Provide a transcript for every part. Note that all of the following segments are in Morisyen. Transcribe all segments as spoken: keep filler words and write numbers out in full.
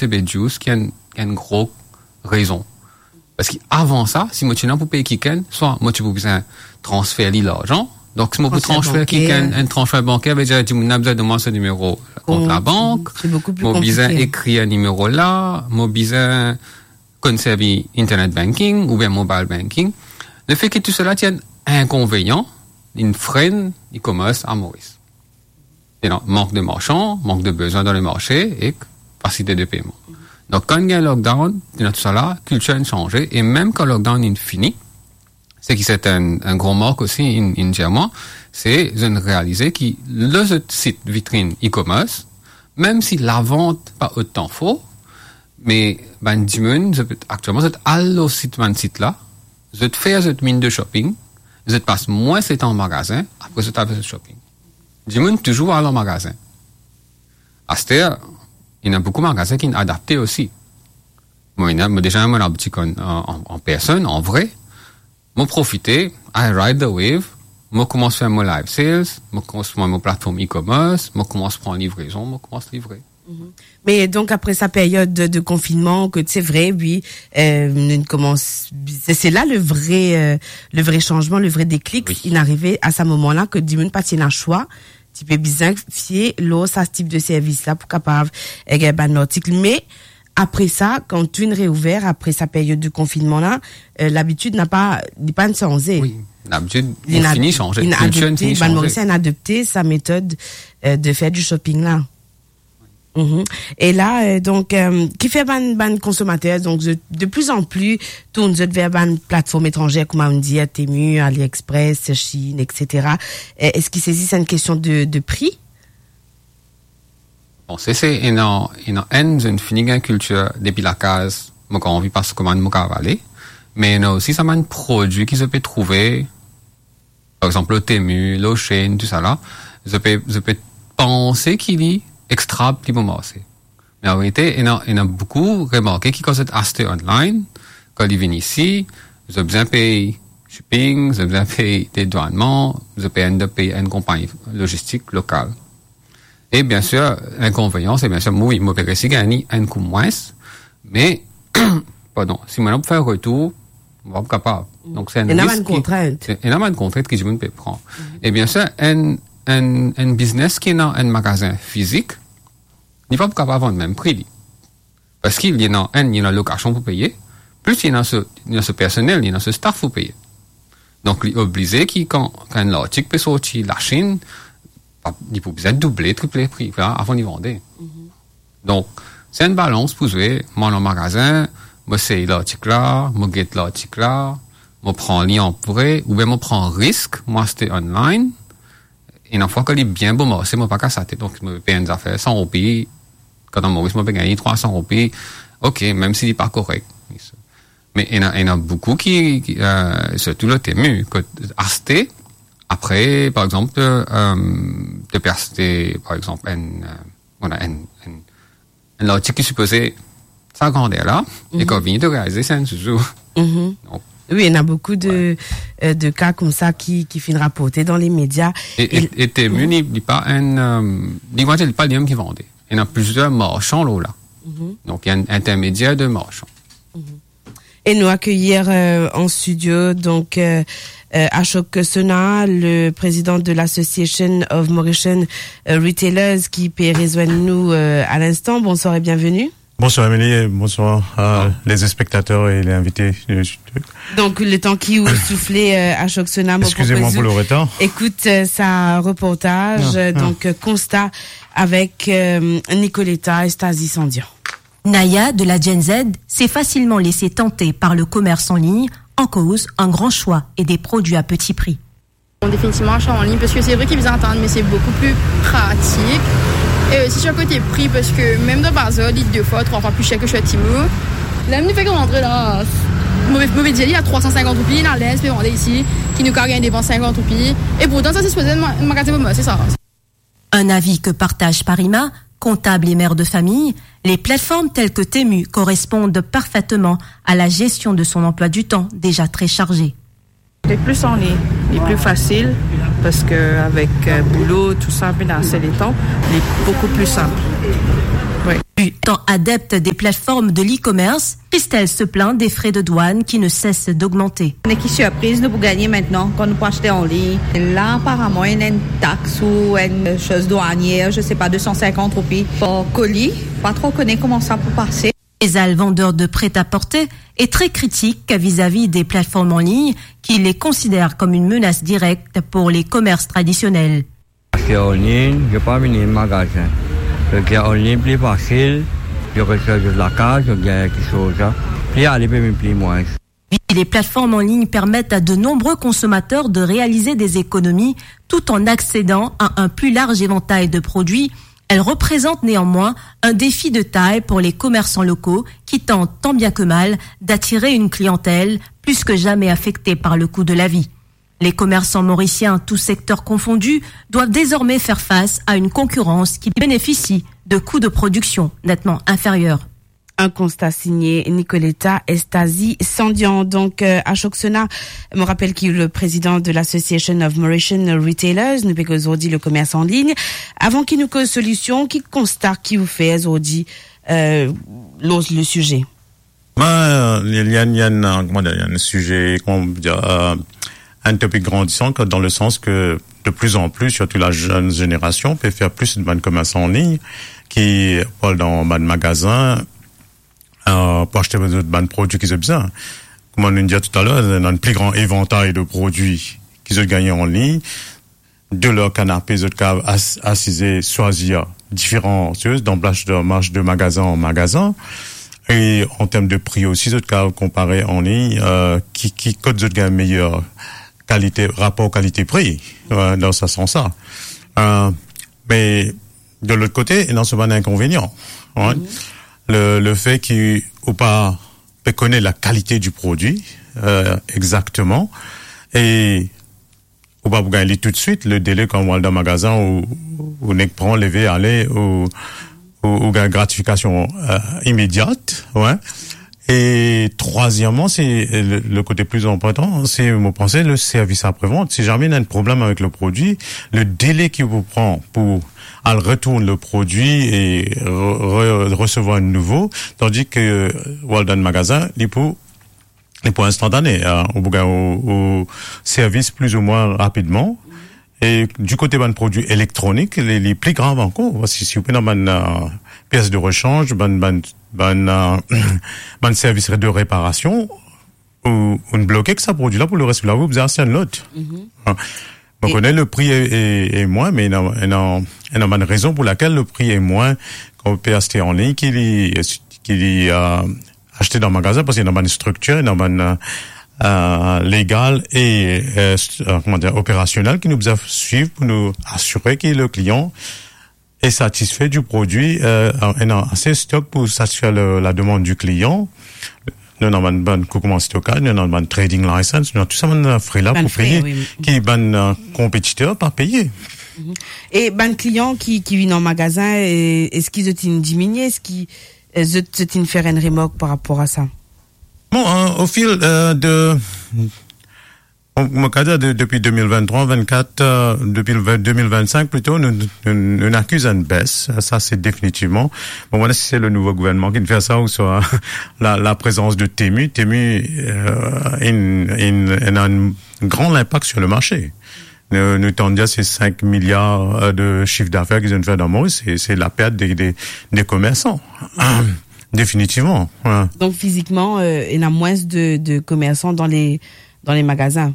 se be djous ki enn, enn gro rezon. Parski avan sa, si mo ti ena pou pey kikenn, swa mo ti pou bizin transfer li larzan. Donk, si mo pou transfer kikenn, enn transfer banker, vedir dimoun la bizin donn mwa so nimero kont labank, mo bizin ekrir enn nimero la, mo bizin konn servi internet banking oubien mobile banking. Lefe ki tou sela ti enn inkonvenian, inn frenn e-commerce a Moris. Ena mank de marsan, mank de bizin dan lemarse ek fasilite de peyman. Donk, kan gagn lockdown, ena tou sala, kiltir inn sanze, e mem kan lockdown inn fini, seki se enn, enn gran mark osi, inn, inn dir mwa, se zot inn realize ki lor zot sit vitrinn e-commerce, mem si lavant pa otan for, me bann dimoun, zot, aktielman, zot al lor sit, bann sit la, zot fer zot minn de shopping, zot pas mwins letan an magazin, apre zot al fer zot shopping. Dimoun touzour al an magazin. Aster, ena boukou magazin ki inn adapte osi. Mo ena, mo deza ena mo laboutik an, an, an, an personn, an vre. Mo profite, I ride the wave, mo koumans fer mo live sales, mo koumans pran mo platform e-commerce, mo koumans pran livrezon, mo koumans livre. Me donk, apre sa peryod de, de konfinnman, ke se vre, wi, euh, nou koumans, se, se la le vre, euh, le vre sanzman, le vre deklik, inn arive a sa moman la, ke dimoun pa ti ena swa, ti pe bizin fie lor sa tip de servis la pou kapav, eh, gagn bann lartik. Me apre sa, kan tou inn reouver, apre sa peryod de konfinnman la, euh, labitid napa, li pa'nn sanze. Wi, labitid inn fini sanze, kiltir inn fini sanze. Bann Morisien inn adopte sa metod, euh, de fer di shopping la. Mhm. E la, euh, donk, euh, kifer bann, bann konsomater, donk, de, de pli an pli tourn zot ver bann platform etranze, kouma nou dir, Temu, AliExpress, Chine, et cetera. Euh, eski se zis enn kestion de, de pri? Bon, se, se ena, ena enn, zot inn fini gagn kiltir depi lakaz, mo kapav anvi pas komann, mo kapav ale. Me ena osi sa bann prodwi ki zot pe trouve, par exanp, lor Temu, lor Shein, tou sala, zot pe, zot pe panse ki li extra pli bon marse. Me an verite, ena, ena boukou remarke ki kan zot aste online, kan li vinn isi, zot bizin pey shipping, zot bizin pey dedwannman, zot pe end up pey enn konpagni logistik lokal. E biensir, inkonvenian, se biensir, mo, wi, mo pe resi gagn enn kou mwins, me, pardon, si mo ena pou fer retour, mo pa kapav. Donk, se enn risk ki, ena bann kontrint ki dimoun pe pran. E biensir, enn, enn, enn biznes ki ena enn magazin fizik, li pa pou kapav vann mem pri li. Parski li ena enn, li ena lokasion pou peye, plis li ena so, li ena so personel, li ena so staff pou peye. Donk, li oblize ki kan, kan enn lartik pe sorti Lasinn, pa, li pou bizin double, triple pri la avan li vande. Mhm. Donk, se enn balans pou zwe, mo al an magazin, mo sey lartik la, mo get lartik la, mo pran li an vre, oubien mo pran risk, mo aste online, ena fwa kan li bien bon marse, mo pa kas latet, donk mo pe enn zafer san roupi, kan dan Moris mo pe gagn trwa san roupi, ok, mem si li pa korek. Me ena, ena boukou ki, ki, euh, sirtou lor Temu, kot aste, apre, par exanp, euh, to pe aste, par exanp, enn, euh, voilà, enn, enn, enn lartik ki sipoze sa grander la, e kan vini to realize se enn zouzou. Mhm. Donk, wi, ena boukou de, euh, de ka koumsa ki, ki finn raporte dan lemedia. E, e, e Temu, li, li pa enn, euh, li, mo dir, li pa limem ki vande. Ena plizier marsan lor la. Mhm. Donk, ena enn intermedier de marsan. Mhm. E nou akeyir, euh, an studio, donk, euh, euh, Ashok Sona, le président de l'Association of Mauritian, euh, Retailers, ki pe rezwenn nou, euh, a linstan. Bonsoir e bienvenue. Bonsoir Émilie, bonsoir à les spectateurs et les invités. Donk, letan ki ou soufle, euh, Ashok Sona, mo propoz ou ekout, euh, sa reportaj, euh, donk, euh, Konsta avek, euh, Nicoletta Estazi Sandian. Naya, de la Gen Z, s'est facilement laissée tenter par le commerce en ligne, en cause un grand choix et des produits à petit prix. Bon, definitivman, aste an lign, parski se vre ki bizin atann, me se boukou pli pratik. E osi, sir kote pri, parski mem dan bazar, li de fwa, trwa fwa pli ser ki Temu. Ler nou fek rantre la, mo pe, mo pe dir li a trwa san sinkant roupi, ena linz pe vande isi, ki nou kapav gagn devan sinkant roupi. E pourtan, sa se sipoze enn ma-, magazin pou mwa, se sa. Un avis que partage Parima, comptable et mère de famille, les plateformes telles que Temu correspondent parfaitement à la gestion de son emploi du temps déjà très chargé. C'est plus en ligne, c'est plus facile, parce que avec, euh, boulot, tout ça, puis dans ces temps, c'est beaucoup plus simple. Oui. Étant adepte des plateformes de l'e-commerce, Christelle se plaint des frais de douane qui ne cessent d'augmenter. Ena ki sirpriz nou pou gagne aster kan nou pou aste an lign. La, aparaman, ena enn tax ou enn soz dwanier, je sais pas, deux cent cinquante roupi par koli. Pa tro kone kouma sa pou pase. Faisal, vendeur de prêt-à-porter, est très critique vis-à-vis des plateformes en ligne, qu'il les considère comme une menace directe pour les commerces traditionnels. Aste an lign, mo pa vini magazin. Parski an lign pli fasil, mo reste zis lakaz, mo gagn kiksoz, pli ale pe vinn pli mwin. Les plateformes en ligne permettent à de nombreux consommateurs de réaliser des économies tout en accédant à un plus large éventail de produits. Elles représentent néanmoins un défi de taille pour les commerçants locaux qui tentent tant bien que mal d'attirer une clientèle plus que jamais affectée par le coût de la vie. Les commerçants mauriciens, tous secteurs confondus, doivent désormais faire face à une concurrence qui bénéficie de coûts de production nettement inférieurs. Un constat signé Nicoletta Estazi Sandian. Donc, euh, Ashok Sona, je me rappelle qu'il est le président de l'Association of Mauritian Retailers, nou pe koz zordi le commerce en ligne. Avan ki nou koz solision, ki konsta ki ou fer zordi, euh, lor le sujet? Ben, il y a, il y a une, euh, comment dire, il y a un sujet, comment dire, euh, un topic grandissant, que dans le sens que de plus en plus, surtout la jeune génération, peut faire plus de bann commerce en ligne, ki pou al dan bann magazin, euh, pou aste bann, bann prodwi ki zot bizin. Kouma nou dir talor, ena enn pli gran evantay de prodwi ki zot gagn an lign. De lor kanape, zot kav as-, asize, swazir diferan soz, dan marsh de, marsh de magazin an magazin. E an term de pri osi, zot kav konpare an lign, euh, ki, ki kot zot gagn meyer kalite, rapor kalite-pri, euh, dan sa sans la. Euh, me de lot kote, ena so bann inkonvenian, hein. Le, le fait ki ou pa pe kone la kalite du produit, euh, exactement, e ou pa pou gagn li toutswit, le délai kan ou al dan magazin, ou, ou nek pran, leve, ale, ou, ou, ou gagn gratifikasion, euh, imediat, ouais. E trwazieman, se le, le kote pli inportan, se, mo panse, le servis apre-vant. Si zame ena enn problem avek le prodwi, le délai ki ou pou pran pou al retourn le prodwi e re-, re-, resevwar enn nouvo, tandis ke ou al dan magazin, li pou, li pou instantane, hein, ou pou gagn ou, ou servis plizoumwin rapidman. E di kote bann prodwi elektronik, li, li pli grav ankor, parski si ou pena bann, euh, pies de rechanj, bann, bann, bann, euh, bann servis de reparasion, ou, ou bloke ek sa prodwi la pou leres lavi, ou bizin aste enn lot. Hein. Mo kone le pri e, e, e mwin, me ena, ena, ena bann rezon pou lakel le pri e mwin kan ou pe aste an lign ki li, ki li, euh, aste dan magazin, parski ena bann striktir, ena bann, euh, euh, legal e, euh, st-, euh, kouma dir, operasionel ki nou bizin swiv pou nou asire ki le klian est satisfait du produit, euh, ena ase stok pou satisfer le, la demande du client. Nou ena bann, bann kou kouma stokaz, nou ena bann trading license, nou ena tou sa bann, euh, fre la pou peye, ki bann, euh, konpetiter pa peye. E bann klian ki, ki vinn an magazin, e, eski zot inn diminie, eski, euh, zot, zot inn fer enn remark par rapor a sa? Bon, euh, au fil, euh, de, bon, mo kav dir de, depi deux mille vingt-trois, vingt-quatre, euh, depi le vingt, deux mille vingt-cinq plito, nou, nou, nou, nou akiz enn bes. Sa, se definitivman. Bon, mo pa kone si se le nouvo gouvernman ki fer sa ouswa la, la prezans de Temu. Temu, euh, inn, inn, inn ena enn gran inpak sur le marché. Nou, nou tann dir se cinq milliards, euh, de chiffre d'affaires ki zot inn fer dan Moris, se, se lapert de, de, de komersan. Definitivman, ouais. Donc, physiquement, euh, ena mwins de, de komersan dan le, dan le magazin?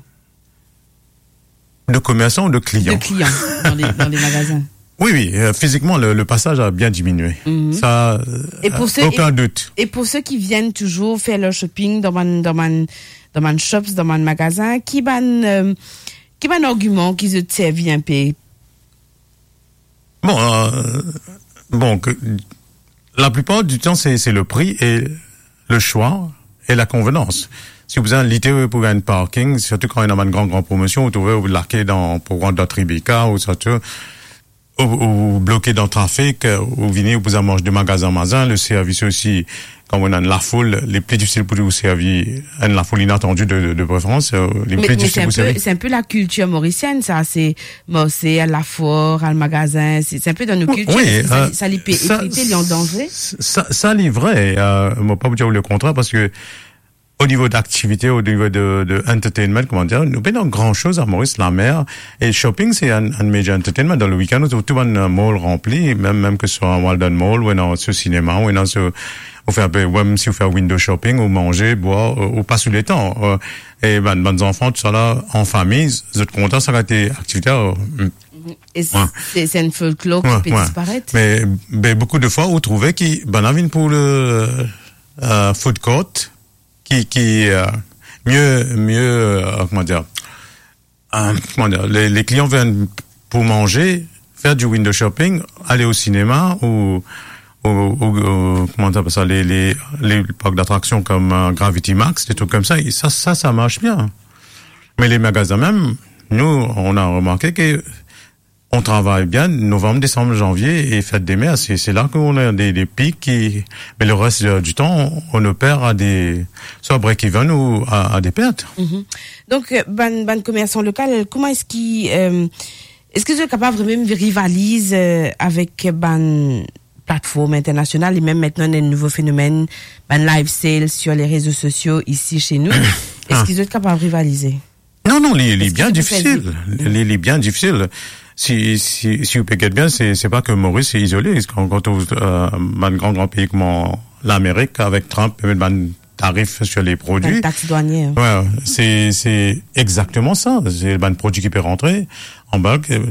De komersan ou de klian? De klian dan le, dan le magazin. Oui, oui, euh, physiquement, le, le passage a bien diminué. Ça, euh, aucun doute. Et pour ceux qui, et pour ceux qui viennent toujours faire leur shopping dan bann, dan bann, dan bann shops, dan bann magazin, ki bann, euh, ki bann argiman ki zot servi inpe? Bon, euh, bon, que, la plupart du temps, c'est, c'est le prix et le choix et la convenance. Si ou bizin lite pou gagn parking, sirtou kan ena bann gran, gran promosion, ou trouve ou lake dan, pou rant dan Tribeca, ou sirtou, ou, ou bloke dan trafik, ou vini, ou bizin mars de magazin an magazin, le servis osi, kan ou ena enn lafoul, li pli difisil pou ou servi, enn lafoul inatandi de, de, de preferans, euh, li pli difisil pou servi. Me, me se enn pe, se enn pe lakiltir morisienn, sa, se, bon, se al lafor, al magazin, se, se enn pe dan nou kiltir, wi, eski sa, euh, sa li pe sa, efekte, li an danze? Sa, sa li vre, euh, mo pa pou dir ou lekontrèr, parski o nivo d'aktivite, o nivo de, de entertainment, kouma dir, nou pena gran soz a Moris, lamer, e shopping, se enn, enn major entertainment. Dan le weekend, ou trouv tou bann, euh, mall ranpli, mem, mem ke swa Walden Mall, ou ena so sinema, ou ena so, ou fer enn pe, mem si ou fer window shopping, ou manze, bwar, ou, ou pas ou letan, euh, e bann, bann zanfan, tousala, an fami, zot kontan, sa kalite aktivite, euh, mm. E s-, wi. Se, se enn folklor ki, wi, pe, wi, disparet. Me, be, boukou de fwa, ou trouve ki, bann la vinn pou le, euh, food court, ki, ki, euh, mie, mie, euh, kouma dir, euh, kouma dir, le, le klian vinn pou manze, fer di window shopping, ale o sinema ou, ou, ou, ou, kouma dir sa, le, le, le park d'atraksion kom, euh, Gravity Max, de trik koumsa, e sa, sa, sa mars bien. Me le magazin mem, nou, on a remarke ke on travay bien, novanm, desanm, zanvie e fet de mer, se, se la ke on a de, de pik ki, me le res, euh, di tan, on oper a de, swa break-even ou a, a de pert. Mhm. Donk, euh, bann, bann komersan lokal, kouma eski, euh, eski zot kapav mem rivaliz, euh, avek bann platform internasional, e mem aster ena enn nouvo fenomenn, bann live sales sur les réseaux sociaux isi se nou? Ah. Eski zot kapav rivalize? Non, non, li, li bien difisil. Eski zot pe fer zis? Li, li bien difisil. Si, si, si ou pe get bien, se, se pa ke Moris se izole. Kan, kan ou, euh, bann gran, gran pei kouma Lamerik avek Trump, pe met bann tarif sur les produits. Bann tax douanier. Wi, se, se exakteman sa. Se bann prodwi ki pe rantre an balk, euh,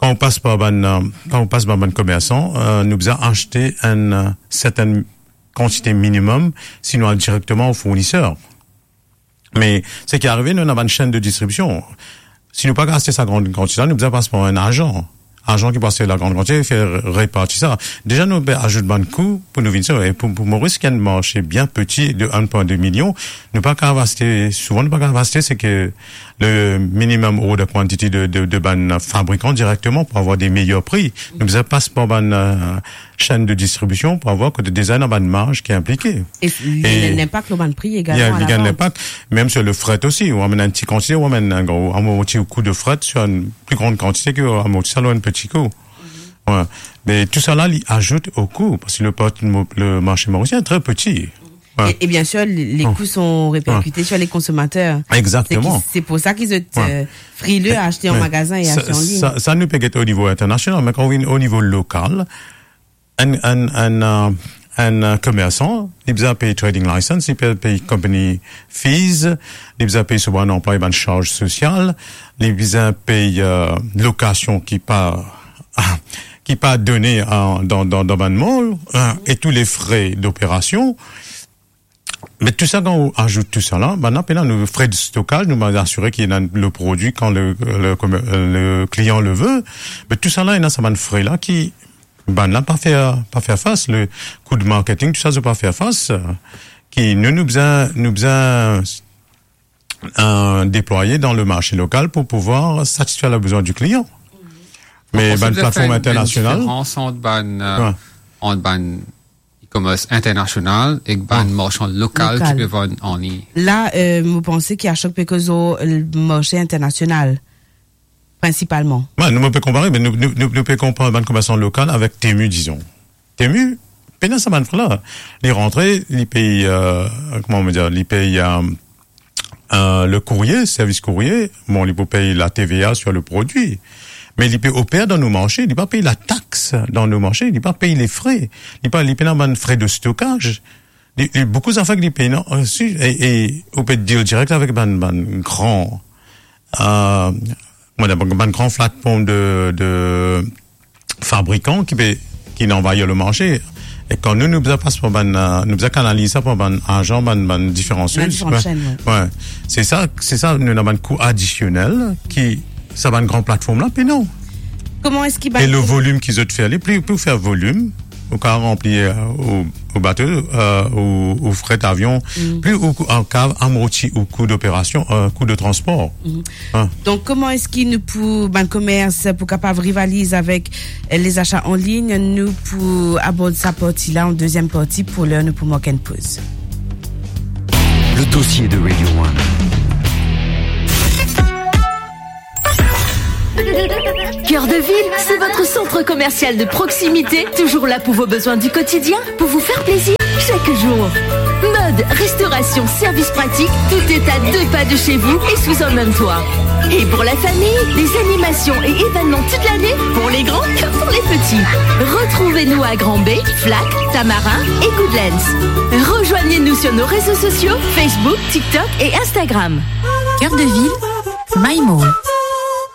kan ou pas par bann, euh, kan ou pas par bann komersan, euh, nou bizin aste enn, euh, sertenn kantite minimem, si nou al direkteman o fourniser. Me seki arive, nou ena bann senn de distribision. Si nou pa kapav aste sa gran kantite la, nou bizin pas par enn azan. Azan ki pou aste la gran kantite, fer reparti sa. Deza, nou pe azout bann kou pou nou vinn sa. E pou, pou Moris, ki enn marse bien peti de enn pwin de milion, nou pa kapav aste, souvan nou pa kapav aste, seki le minimum order quantity de, de, de bann fabrikan direkteman pou avoir de meyer pri. Nou bizin pas par bann, euh, senn de distribision pou avoir kot deza ena bann marz ki inplike. E li gagn linpak lor bann pri egalman, li gagn linpak, mem sur le fret osi. Ou amenn enn ti kantite, ou amenn enn gro, amorti kou de fret sur enn pli gran kantite ki ou amorti sa lor enn peti kou. Wi. Me tousala, li azout o kou, parski le part-, le marse morisien tre peti. Wi. E, e bien sir, les, les coûts sont répercutés sur les consommateurs. Egzakteman. Se ki, se pou sa ki zot, euh, frileux à acheter en magasin et acheter en ligne. Sa, sa nou pe get o nivo internasional, me kan ou vinn o nivo lokal, enn, enn, enn, euh, enn, euh, komersan, li bizin pey trading license, li pe-, pey company fees, li bizin pey so bann anplwaye bann sarz sosial, li bizin pey, euh, lokasion ki pa, ki pa done, euh, dan, dan, dan bann mall, euh, e tou le fre doperasion. Me tou sa, kan ou azout tou sa la, bann la pena nou fre de stokaz, nou bizin asire ki ena le prodwi kan le, le, le klian le ve. Me tou sa la, ena sa bann fre la ki bann la pa fer, pa fer fas. Le kou de marketing, tou sa, zot pa fer fas. Ki nou, nou bizin, nou bizin, euh, deplwaye dan le marse lokal pou pouvwar satisfer le bizwin di klian. Me bann platform internasional. Ou panse ki ena enn diferans ant bann, euh, ant bann e-commerce internasional ek bann marsan lokal ki pe vann an liy. La, euh, mo panse ki Ashok pe koz lor le marse internasional, prinsipalman. Wi, nou, nou pe konpare, me nou, nou, nou, nou pe konpar bann komersan lokal avek Temu, dizon. Temu, pena sa bann fre la. Li rantre, li pey, euh, kouma nou dir, li pey, euh, euh, le kourye, servis kourye, bon, li pou pey la T V A sur le prodwi. Me li pe oper dan nou marse, li pa pey la tax dan nou marse, li pa pey le fre, li pa, li pena bann fre de stokaz. Li, li boukou zafer ki li pey, non, euh, si, e, e ou pe deal direk avek bann, bann gran, euh, kouma dir, bann gran platform de, de fabrikan ki pe, ki anvayir le marse. E kan nou, nou bizin pas par bann, euh, nou bizin kanaliz sa par bann azan, bann, bann diferan sours. Bann diferan senn, wi. Wi. Se sa, se sa, nou ena bann kou adisionel ki sa bann gran platform la pena. Kouma eski bann... E le volim ki zot fer, li pli pou fer volim, ou kav ranpli, euh, ou, ou bato, euh, ou, ou fret avion, pli ou, ou kav amorti ou kou d'operasion, euh, kou de transpor. Hein. Donk, kouma eski nou pou, bann komers pou kapav rivaliz avek, euh, lezasa an lign? Nou pou abord sa parti la an deziem parti. Pou ler, nou pou mark enn poz. Le dossier de Radio One. Cœur de Ville, c'est votre centre commercial de proximité, toujours là pour vos besoins du quotidien, pour vous faire plaisir chaque jour. Mode, restauration, service pratique, tout est à deux pas de chez vous et sous un même toit. Et pour la famille, des animations et événements toute l'année, pour les grands comme pour les petits. Retrouvez-nous à Grand Baie, Flac, Tamarin et Goodlands. Rejoignez-nous sur nos réseaux sociaux, Facebook, TikTok et Instagram. Cœur de Ville, My Mall.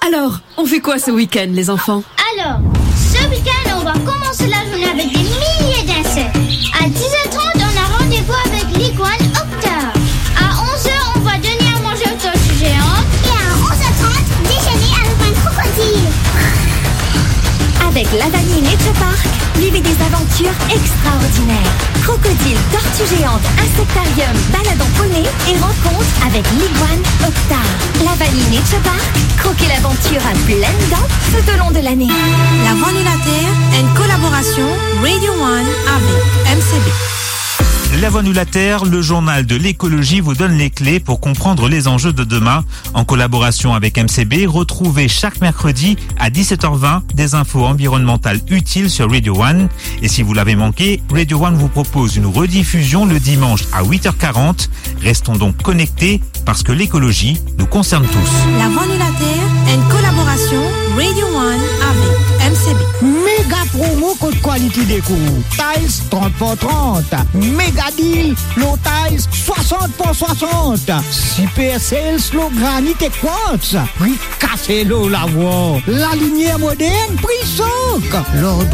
Alors, on fait quoi ce week-end, les enfants ? Alors, ce week-end, on va commencer la journée avec des milliers d'insectes. À dix heures trente, on a rendez-vous avec l'iguane Octar. À onze heures, on va donner à manger aux tortues géantes. Et à onze heures trente, déjeuner avec un crocodile. Avec Lavani Nature Park, vivez des aventures extraordinaires. Crocodile, tortue géante, insectarium, balade en poney et rencontre avec l'iguane Octar. Lavani Nature Park, croquez l'aventure à pleines dents tout au long de l'année. La Voix Anniversaire, une collaboration Radio One avec M C B. La Voix Anniversaire, le journal de l'écologie, vous donne les clés pour comprendre les enjeux de demain. En collaboration avec M C B, retrouvez chaque mercredi à dix-sept heures vingt des infos environnementales utiles sur Radio One. Et si vous l'avez manqué, Radio One vous propose une rediffusion le dimanche à huit heures quarante. Restons donc connectés parce que l'écologie nous concerne tous. La Voix Anniversaire, une collaboration Radio One avec M C B. Méga promo kot Quality Decor. Tiles trente par trente. Méga deal lor tiles soixante par soixante. Super sales lor granit e quartz. Pri kase lor lavwar. Lalimier modern, pri sok. Lor